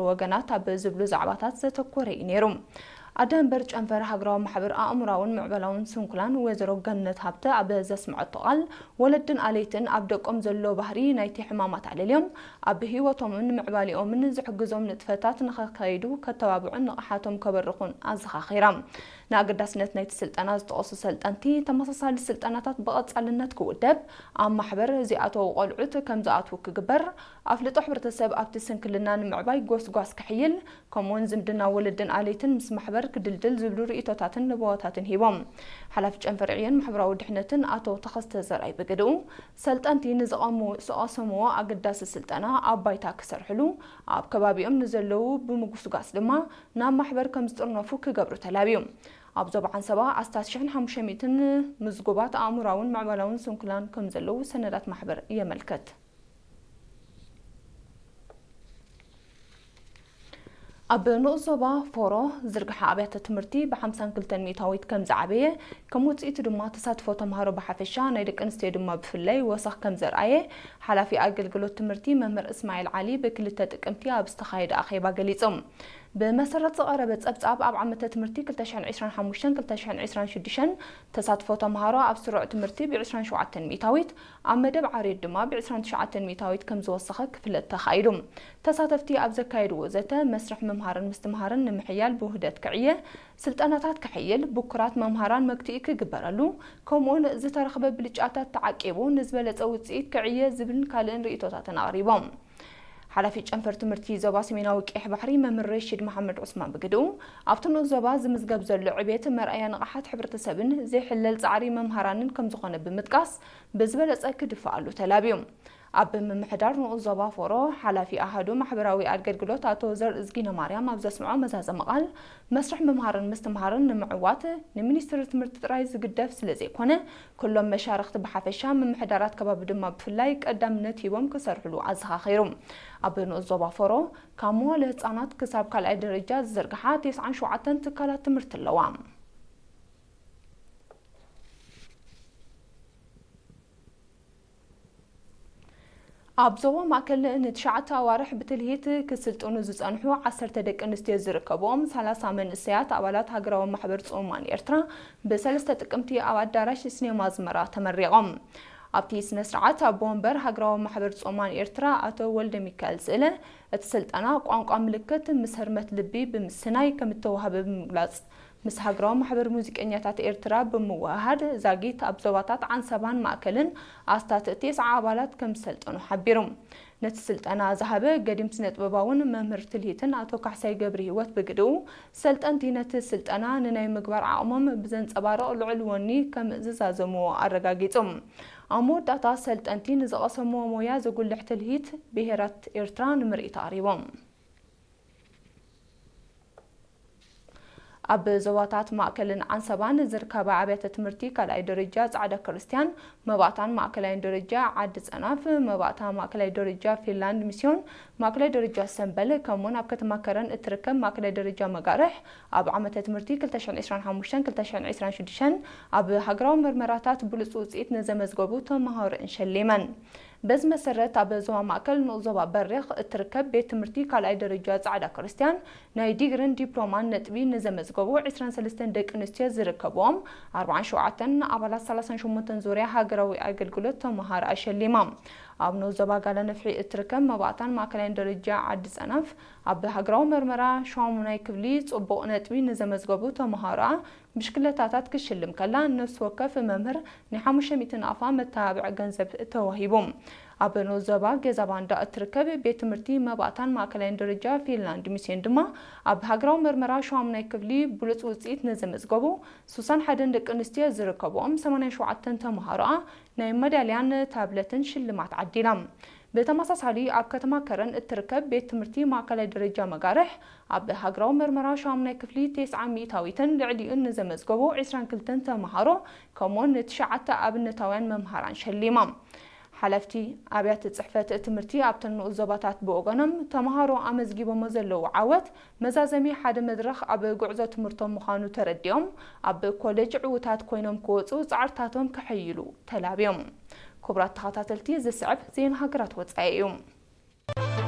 ወገናት ኣብ ዝብሉ ዛዕባታት ዘተኮረ እዩ ነይሩ። ኣደ መንበር ጨንፈር ሃገራዊ ማሕበር ኣእምራውን ምዕባላውን ስንኩላን ወይዘሮ ገነት ሃብተ ኣብ ዘስምዐቶ ቃል፣ ወለድን ኣለይትን ኣብ ደቆም ዘሎ ባህሪ ናይቲ ሕማማት ኣለልዮም ኣብ ህይወቶምን ምዕባሌኦምን ዝሕግዞም ንጥፈታት ንኸካይዱ ከተባብዑን ንቕሓቶም ከበርኹን ኣዘኻኺራ። ንኣገዳስነት ናይቲ ስልጠና ዝጠቐሱ ሰልጠንቲ፣ ተመሳሳሊ ስልጠናታት ብቐጻልነት ክውደብ፣ ኣብ ማሕበር ዚኣተዉ ቆልዑት ከም ዝኣትዉ ክግበር፣ ኣፍልጦ ሕብረተሰብ ኣብቲ ስንክልና ንምዕባይ ጎስጓስ ክሕይል፣ ከምኡውን ዝምድና ወለድን ኣለይትን ምስ ማሕበር ክድልድል ዝብሉ ርእይቶታትን ንበዋታትን ሂቦም። ሓላፊ ጨንፈር ዕዮን ማሕበራዊ ድሕነትን ኣቶ ተኸስተ ዘርኣይ ብግድኡ፣ ሰልጠንቲ ንዝቐሙ-፣ ዝቐሰምዎ ኣገዳሲ ስልጠና ኣብ ባይታ ክሰርሕሉ፣ ኣብ ከባቢኦም ንዘለዉ ብምጉስጓስ ድማ ናብ ማሕበር ከም ዝጥርነፉ ክገብሩ ተላብዩ። ኣብ ዞባ ዓንሰባ ኣስታት ሽሕን ሓሙሽተ ሚእትን ምዝጉባት ኣእምራውን ምዕባላውን ስንኩላን ከም ዘለዉ ሰነዳት ማሕበር የመልክት። ኣብ ንኡስ ዞባ ፎሮ ዝርግሐ ኣብያተ ትምህርቲ ብ ሓምሳን ክልተን ሚእታዊት ከም ዝዓበየ፣ ከም ውጽኢቱ ድማ ተሳትፎ ተምሃሮ ብሓፈሻ ናይ ደቂ ኣንስትዮ ድማ ብፍላይ ወሰኽ ከም ዘርኣየ ሓላፊ ኣገልግሎት ትምህርቲ መምህር እስማኤል ዓሊ ብክልተ ጥቅምቲ ኣብ ዝተኻየደ ኣኼባ ገሊጹ። ብመሰረት ዝቐረበ ጸብጻብ ኣብ ዓመተ ትምህርቲ ክልተ ሽሕን ዕስራን ሓሙሽተን ክልተ ሽሕን ዕስራን ሽዱሽተን ተሳትፎ ተምሃሮ ኣብ ስሩዕ ትምህርቲ ብ ዕስራን ሸውዓተን ሚእታዊት ኣብ መደብ ዓርዮት ድማ ብ ዕስራን ትሽዓተን ሚእታዊት ከም ዝወሰኸ ክፍለጥ ተኻኢሉ። ተሳተፍቲ ኣብ ዘካየድዎ ዘተ፣ መስርሕ ምምሃርን ምስትምሃርን ንምሕያል ብውህደት ክዕየ፣ ስልጠናታት ክሕይል፣ ብኩራት መምሃራን መግትኢ ክግበረሉ፣ ከምኡውን ዝተረኽበ ብልጫታት ተዓቂቡ ንዝበለጸ ውጽኢት ክዕየ ዝብልን ካልእን ርእይቶታትን ኣቕሪቦም። ሓላፊ ጨንፈር ትምህርቲ ዞባ ሰሜናዊ ቀይሕ ባሕሪ መምህር ረሺድ መሓመድ ዑስማን ብግድኡ፣ ኣብቲ ንኡስ ዞባ ዝምዝገብ ዘሎ ዕቤት መርኣያ ንቕሓት ሕብረተሰብን ዘይሕለል ጻዕሪ መምሃራንን ከም ዝኾነ ብምጥቃስ፣ ብዝበለጸ ክድፈኣሉ ተላብዩ። ኣብ ምምሕዳር ንኡስ ዞባ ፎሮ ሓላፊ ኣሃዱ ማሕበራዊ ኣገልግሎት ኣቶ ዘርእዝጊነ ማርያም ኣብ ዘስምዖ መዛዘሚ ቃል፣ መስርሕ ምምሃርን ምስትምሃርን ንምዕዋት ንሚኒስትሪ ትምህርቲ ጥራይ ዝግደፍ ስለ ዘይኮነ፣ ኩሎም መሻርኽቲ ብሓፈሻ፣ ምምሕዳራት ከባቢ ድማ ብፍላይ ቀዳምነት ሂቦም ክሰርሕሉ ኣዘኻኺሩ። ኣብ ንኡስ ዞባ ፎሮ ካብ መዋለ ህጻናት ክሳብ ካልኣይ ደረጃ ዝዝርግሓ ተስዓን ሸውዓተን ትካላት ትምህርቲ ኣለዋ። ኣብ ዞባ ማእከል ንትሽዓተ ኣዋርሕ ብትልሂት ክስልጥኑ ዝጸንሑ ዓሰርተ ደቂ ኣንስትዮ ዝርከብኦም ሰላሳ መንእሰያት ኣባላት ሃገራዊ ማሕበር ጽሙማን ኤርትራ ብሰለስተ ጥቅምቲ ኣብ ኣዳራሽ ሲኔማ ኣዝመራ ተመሪቖም። ኣብቲ ስነ ስርዓት ኣቦ ወንበር ሃገራዊ ማሕበር ጽሙማን ኤርትራ ኣቶ ወልደ ሚካኤል ስእለ፣ እቲ ስልጠና ቋንቋ ምልክት ምስ ህርመት ልቢ ብምስናይ ከም እተዋህበ ብምግላጽ፣ ምስ ሃገራዊ ማሕበር ሙዚቀኛታት ኤርትራ ብምውህሃድ፣ ዛጊት ኣብ ዞባታት ዓንሰባን ማእከልን ኣስታት ተስዓ ኣባላት ከም ዝሰልጠኑ ሓቢሩ። ነቲ ስልጠና ዝሃበ ገዲም ስነ-ጥበባውን መምህር ትልሂትን ኣቶ ካሕሳይ ገብረሂወት ብግድኡ፣ ሰልጠንቲ ነቲ ስልጠና ንናይ ምግባር ዓቕሞም ብዘንጸባርቕ ልዑል ወኒ ከም ዝዛዘምዎ ኣረጋጊጹ። ኣብ መወዳእታ፣ ሰልጠንቲ ንዝቐሰምዎ ሞያ ዘጉልሕ ትልሂት ብሄራት ኤርትራ ንምርኢት ኣቕሪቦም። ኣብ ዞባታት ማእከልን ዓንሰባን ዝርከባ ኣብያተ ትምህርቲ ካልኣይ ደረጃ ጻዕዳ ክርስትያን፣ መባእታን ማእከላይን ደረጃ ዓዲ ጸናፍ፣ መባእታ ማእከላይ ደረጃ ፊንላንድ ሚስዮን፣ ማእከላይ ደረጃ ሰምበል፣ ከምኡውን ኣብ ከተማ ከረን እትርከብ ማእከላይ ደረጃ መጋርሕ፣ ኣብ ዓመተ ትምህርቲ ክልተ ሽሕን ዕስራን ሓሙሽተን ክልተ ሽሕን ዕስራን ሽዱሽተን ኣብ ሃገራዊ መርመራታት ብሉጽ ውጽኢት ንዘመዝገቡ ተመሃሮኣን ሸሊመን። በዚ መሰረት፣ ኣብ ዞባ ማእከል ንኡስ ዞባ በሪኽ እትርከብ ቤት ትምህርቲ ካልኣይ ደረጃ ጻዕዳ ክርስትያን ናይ ዲግሪን ዲፕሎማን ነጥቢ ንዘመዝገቡ ዕስራን ሰለስተን ደቂ ኣንስትዮ ዝርከብዎም ኣርባዓን ሸውዓተን ኣባላት ሰላሳን ሸሞንተን ዙርያ ሃገራዊ ኣገልግሎት ተመሃሮ ኣሸሊማ። ኣብ ንኡስ ዞባ ጋላ ነፍሒ እትርከብ መባእታን ማእከላይን ደረጃ ዓዲ ጸናፍ ኣብ ሃገራዊ መርመራ ሻሙናይ ክፍሊ ጽቡቕ ነጥቢ ንዘመዝገቡ ተመሃሮኣ ብሽክለታታት ክሽልም ከላ፣ ነፍሲ ወከፍ መምህር ናይ ሓሙሽተ ሚእቲ ናቕፋ መተባብዒ ገንዘብ ተዋሂቡ። ኣብ ንኡስ ዞባ ገዛ ባንዳ እትርከብ ቤት ትምህርቲ መባእታን ማእከላይን ደረጃ ፊንላንድ ሚስዮን ድማ ኣብ ሃገራዊ መርመራ ሸዋሙናይ ክፍሊ ብሉጽ ውጽኢት ንዘመዝገቡ ስሳን ሓደን ደቂ ኣንስትዮ ዝርከብኦም ሰማንያን ሸውዓተን ተምሃሮኣ ናይ መዳልያን ታብለትን ሽልማት ዓዲላ። ብተመሳሳሊ ኣብ ከተማ ከረን እትርከብ ቤት ትምህርቲ ማእከላይ ደረጃ መጋርሕ ኣብ ሃገራዊ መርመራ ሻሙናይ ክፍሊ ተስዓ ሚእታዊትን ልዕሊኡን ንዘመዝገቡ ዕስራን ክልተን ተምሃሮ ከምኡውን ንትሽዓተ ኣብነታውያን መምሃራን ሸሊማ። ሓለፍቲ ኣብያተ ጽሕፈት ትምህርቲ ኣብተን ንኡስ ዞባታት ብወገኖም፣ ተምሃሮ ኣመዝጊቦሞ ዘለዉ ዓወት መዛዘሚ ሓደ መድረኽ ኣብ ጉዕዞ ትምህርቶም ምዃኑ ተረዲኦም፣ ኣብ ኮሌጅ ዕዉታት ኮይኖም ክወጹ ጻዕርታቶም ከሐይሉ ተላብዮም። ክቡራት ተኸታተልቲ፣ ዝስዕብ ዜና ሃገራት ወጻኢ እዩ።